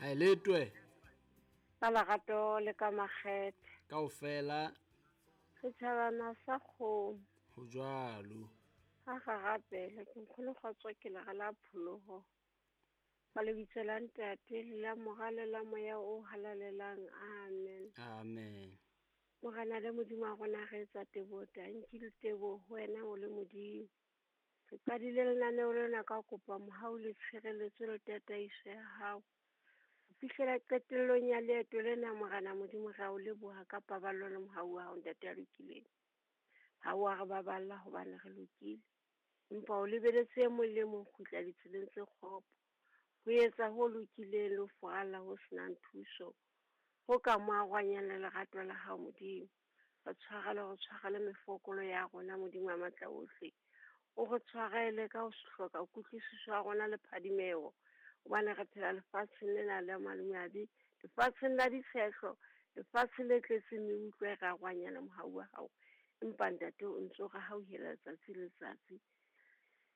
A letwe. Ka lerato le ka makgethe. Kaofela. Setjhabana sa kgomo. Ho jwalo. Ha re rapele ke nkgono kgotso ke lera la pholoho. Ka lebitso la Ntate le la Mora le la Moya o halalelang. Amen. Amen. Morena le Modimo wa rona re etsa teboho tanki le teboho ho wena o le Modimo. Re qadile lenaneo lena ka kopa mohau le tshireletso le tataiso ya hao. Ho fihlela qetellong ya leeto lena Morena Modimo re a o leboha ka paballo le mohau wa hao Ntate ya lokileng. Ha o a re baballa hobane re lokile. Empa o lebeletse e mong le mong kgutla ditseleng tse kgopo. Ho etsa ho lokileng le ho furalla ho senang thuso. Ho ka mo arohanyang le lerato la hao Modimo. Re tshwarele, re tshwarele mefokolo ya rona Modimo wa matla ohle. O re tshwarele ka ho hloka kutlwisiso ya rona le phadimeho. Hobane re phela lefatsheng lena la madimabe, lefatsheng la ditshehlo, lefatshe le tletseng meutlwa e re arohanyang le mohau wa hao. Empa Ntate o ntso re hauhela letsatsi le letsatsi.